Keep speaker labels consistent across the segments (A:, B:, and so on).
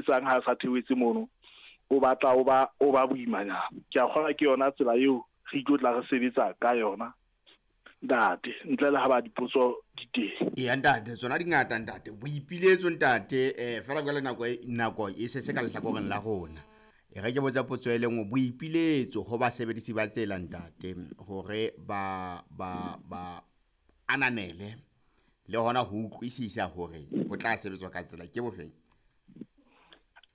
A: etsang ha sa theohetse mono o batla o ba boimanyana. Ke a kgolwa ke yona tsela eo re tlo tla re sebetsa ka yona, ntate, ntle le ha ba dipotso di teng.
B: Eya ntate, tsona di ngata ntate. Boipiletso ntate, fela jwale nako e se se ka lehlakoreng la rona. E re ke botsa potso e le nngwe, boipiletso ho basebedisi ba tsela ntate, hore ba ananele le hona ho utlwisisa hore ho tla sebetswa ka tsela ke bofeng?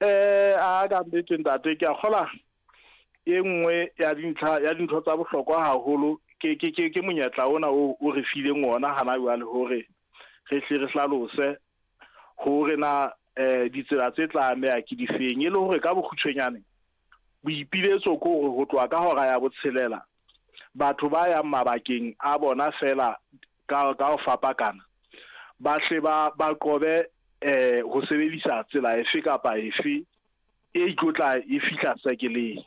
A: A ka nnete ntate, ke a kgola e nngwe ya dintlha ya dintho tsa bohlokwa haholo ke monyetla ona o re fileng ona hana jwale hore re hle re hlalose hore na ditsela tse tla ameha ke difeng, e le hore ka bokgutshwanyane boipiletso ke hore ho tloha ka hora ya botshelela batho ba yang mabakeng a bona fela ka ho fapakana ba hle ba qobe ho sebedisa tsela efe kapa efe e tlotla e fihla sekeleng,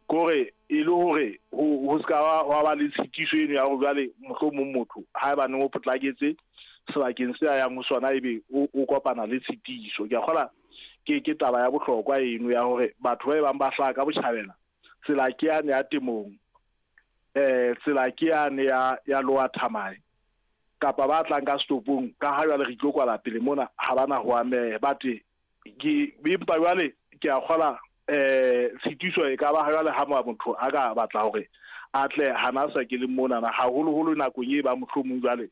A: kore e le hore ho ska wa ba le tshitiso eno ya hore jwale mohlomong motho ha eba neng o potlaketse sebakeng se a yang ho sona ebe o kopana le tshitiso. Ke a kgola ke taba ya bohlokwa eno ya hore batho ba bang ba hlaha ka botjhabela, tsela ke yane ya temong, tsela ke yane ya Lower Thamae, kapa ba tlang ka stopong ka ha jwale re tlo kwala pele mona ha bana ho ameha. But ke empa jwale ke a kgola tshitiso e ka ba jwale ha motho a ka batla hore a tle hana sa ke le monana, haholoholo nakong e ba mohlomong jwale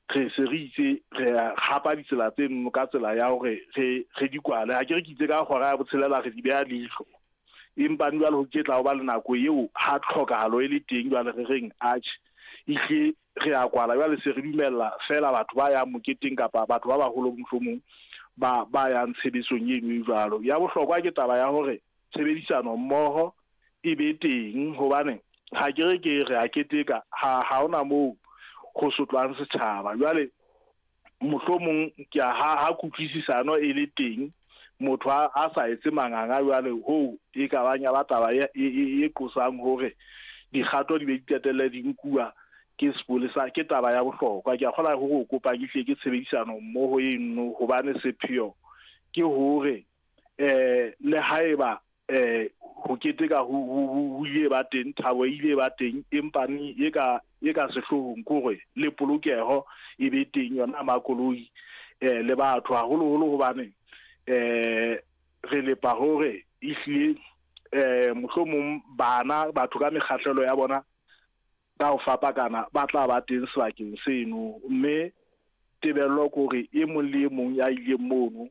A: re se re itse re hapa ditsela tse nno ka tsela ya hore re di kwale. Ha ke re ke itse ka hora ya botshelela re di beha leihlo, empa jwale ho ke tla ho ba le nako eo ha tlhokahalo e le teng jwale re reng atjhe ehle re a kwala jwale se re dumella fela batho ba yang moketeng kapa batho ba baholo mohlomong ba yang tshebetsong eno e jwalo. Ya bohlokwa ke taba ya hore tshebedisano mmoho e be teng, hobane ha ke re ke re a keteka ha hona moo ho sotlwang setjhaba. Jwale mohlomong ke ha kutlwisisano e le teng, motho a sa etse manganga jwale hoo e ka bang ya ba taba e qosang hore dikgato di be di qetelle di nkuwa ke sepolesa, ke taba ya bohlokwa. Ke a kgola hore o kopa ke hle ke tshebedisano mmoho eno, hobane sepheo ke hore le haeba ho keteka ho ile ba teng, thabo e ile ba teng, empa e ka sehloohong ke hore le polokeho e be teng yona makoloi le batho haholoholo, hobane re lepa hore ehlile mohlomong bana batho ka mekgahlelo ya bona ka ho fapakana ba tla ba teng sebakeng seno, mme tebello ke hore e mong le e mong ya ileng mono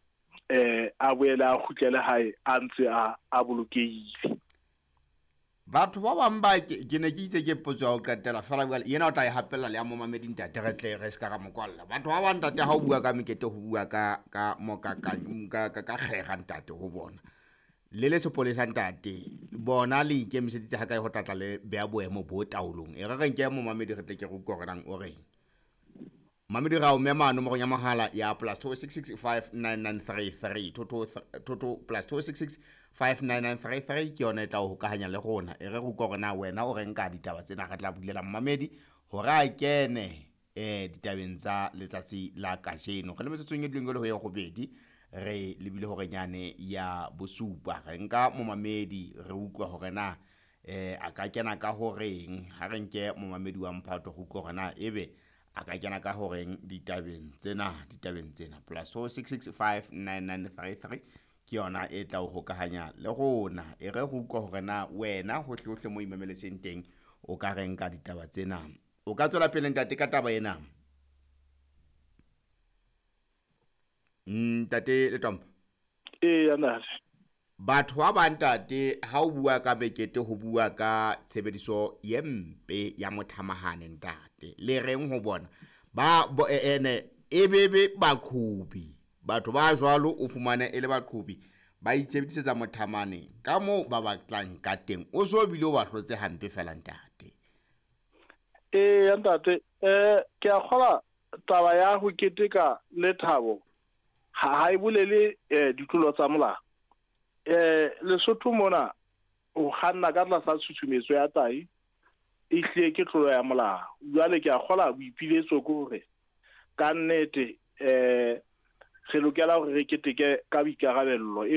A: a boele a kgutlele hae a ntse a bolokehile.
B: Batho ba bang ba ke ne ke itse ke potso ya ho qetela fela jwale yena o tla e hapella le ya momamedi ntate, re tle re se ka ra mo kwalla. Batho ba bang ntate ha o bua ka mekete ho bua ka ka kgera ntate ho bona. Le le sepolesa ntate, bona le ikemiseditse ha kae ho tlatla le beha boemo bo taolong. E re re nke momamedi re tle ke re utlwe hore nang o reng. Mamedi ra o mema nomorong ya mohala ya +266 59933 toto +266 59933 ke yona e tla o hokahanya le rona. E re re utlwe hore na wena o reng ka ditaba tsena, re tla bulela momamedi hore a kene ditabeng tsa letsatsi la kajeno. Re le metsotsong e dileng e le ho ye robedi, re lebile hore nyane ya bosupa. Re nka momamedi re utlwa hore na a ka kena ka horeng. Ha re nke momamedi wa mphato re utlwe hore na ebe a ka kena ka horeng ditabeng tsena +266 59933 ke yona e tla o hokahanya le rona. E re re utlwe hore na wena hohle hohle mo imameletseng teng o ka reng ka ditaba tsena. O ka tswela pele ntate ka taba ena. Ntate Letomba.
A: Eya ntate.
B: Batho ba bang ntate ha o bua ka mekete ho bua ka tshebediso ye mpe ya mothamahane ntate. Le reng ho bona ba ene e bebe baqhobi. Batho ba jwalo o fumane e le baqhobi ba itshebedisetsa mothamane ka moo ba batlang ka teng. O so bile o ba hlotse hampe fela ntate.
A: Eya ntate, ke a kgola taba ya ho keteka le thabo ha e bolele ditlolo tsa molao. Lesotho mona o kganna ka tlasa tshusumetso ya tahi e hlile ke tlolo ya molao. Jwale ke a kgola boipiletso ke hore ka nnete re lokela hore re keteke ka boikarabello.